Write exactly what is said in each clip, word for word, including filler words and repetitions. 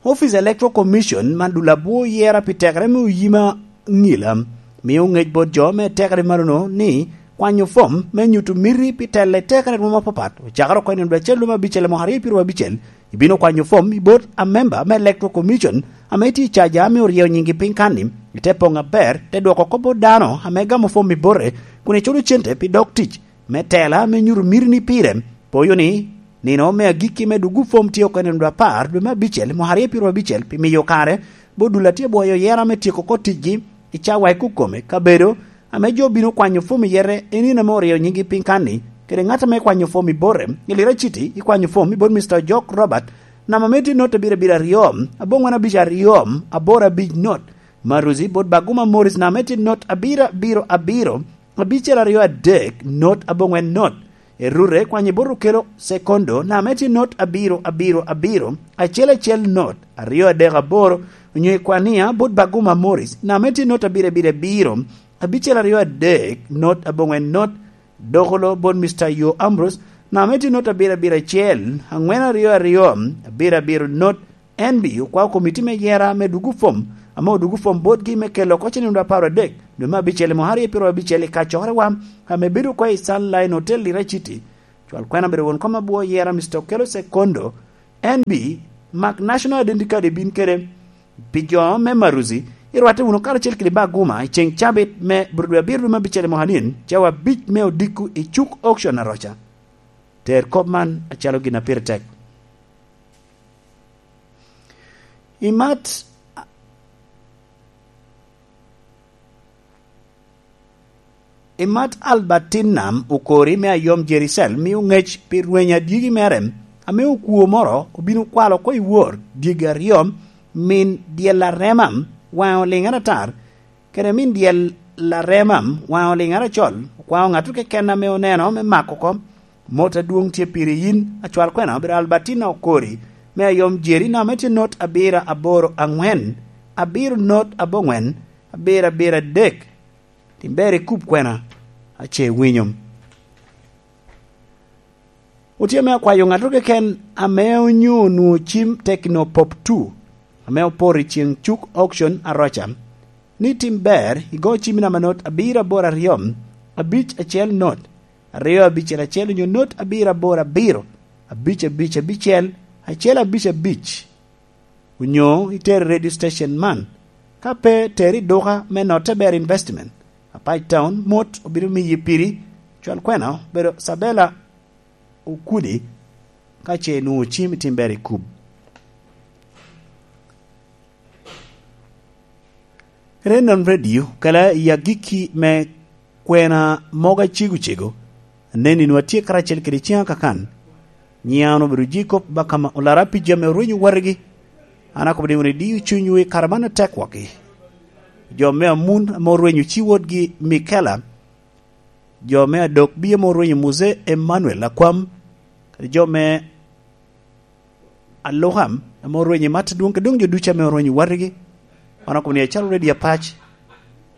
Office Electoral Commission man dul abwo yera pi tekere me oyima ngila, mio ngec bot jo me tekere marono ni kwanyo fom me nyuto miti pi telo i tekere rwom apapat, ocakere oko i nino dwe acel lwom abicel mwaka aryo pyeraryo abicel, ibino kwanyo fom i bot amemba me Electoral Commission ame tye i caja ame oryeyo nyingi piny kanni, ite poŋ aber, te dwoko oko bot dano ame gamo fom i bote, kun iculo cente pi dok tic me tela me nyuto mitini pire. Poyo ni, nino me agikki me dugu fom tye oko i nino dwe apar dwe me abicel mwaka aryo pyeraryo abicel pi miyo kare bot dul a tye bwoyo yera me tyeko oko ticgi i cawa i kukome kabedo ame jo bino kwanyo fom i yete i nino ame oryeyo nyingi piny kanni, kede ŋat ame kwanyo fom i bote, i Lira City, i kwanyo fom i bot Mister Ojok Robert, namba me tye not abiro abiro aryo, aboŋwen abic aryo, aboro abic not. Maruzi bot Baguma Morris, namba me tye not abiro abiro abiro, abicel aryo adek, not aboŋwen not. Erure kwanyo bot Okelo Sekondo, namba me tye not abiro abiro abiro, acel acel not, aryo adek aboro, onyo i Kwania bot Baguma Morris, namba me tye not abiro abiro abiro, abicel aryo adek, not aboŋwen not. Dokolo bot Mister Yo Ambrose, namba me tye not abiro abiro acel, aŋwen aryo aryo, abiro abiro not. N B okwao komiti me yera me dugu fom, ame odugu fom botgi me kelo oko ceniŋ dwe apar adek, dwe me abicel i mwaka aryo pyeraryo abicel i kacokerewa, ame bedo oko i Sunline Hotel Lira City. Cwal kwena obedo won kom abwo yera, Mister Okelo Sekondo, N B, mak National Identity Card ibin kede. Pi jo me Maruzi, irwatte wunu karacel kede Baguma i ceŋ cabit me bur dwe abiro dwe me abicel i mwaka nin, cawa abic me odiko i cuk auction Aroca. Ter kop man acalo gin a pire tek. Imat, imat Albertina Okori me Ayom Jericel mio ŋec pi rweny adyegi mere, ame okwo moro obino kwalo oko i wor dyegi aryo, min dyel arema, waŋe oliŋ aratar, kede min dyel arema, waŋe oliŋ aracol, okwao ŋatto keken ame oneno me mako oko. Mot adwoŋ tye piri yin, acwal kwena obedo Albertina Okori, me Ayom Jeri, namba me tye not abiro aboro aŋwen, abiro not aboŋwen, abiro abiro adek. Tim ber ikub kwena, ace winyo. Otye me akwayo ŋatto keken ame onyo onwoŋo cim Tecno Pop two, ame oporo i ceŋ cuk auction Aroca, ni tim ber igo cim i namba not abiro aboro aryo, abic acel not, aryo abicel acel onyo not abiro aboro abiro, abic abic abicel, acel abic abic, onyo iter i radio station man. Ka pe, ter i duka me Notte Ber Investment, Apac Town, mot obino miyi piri. Cwal kwena obedo Sabela Okudi, ka ce inwoŋo cim itim ber i kub. Renon Radio, kela i agikki me kwena mogo acego cego, anen ni nwa tye karacel kede ciŋa kakan. Nyiŋa an obedo Jacob Bakama Olara pi jami orwenyo watigi. An akobo ni wun idio cunywu i kare man atek waki. Jo me amun ame orwenyo ci wotgi Mikela, jo me adok bie ame orwenyo Muse Emmanuel Akwam, kadi jo me Alukam ame orwenyo i mat adwoŋ, kede doŋ jo ducu ame orwenyo watigi. Wan okobo ni acalo redio Apac,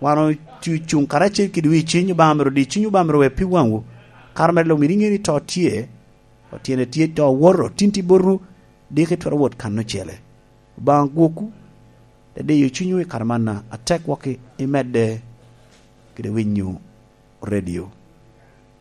wan ocu-, cuŋ karacel kede wi ciny, Obaŋa myero odi ciny, Obaŋa myero we pi waŋwu. Kare mere luŋ myero iŋe ni to tye, otyene tye to owoto, tin tye botwu, diki twero wot kan ocele. Obaŋa gwokwu, te diyo cunywu i kare man atek waki, imedde kede winyo redio.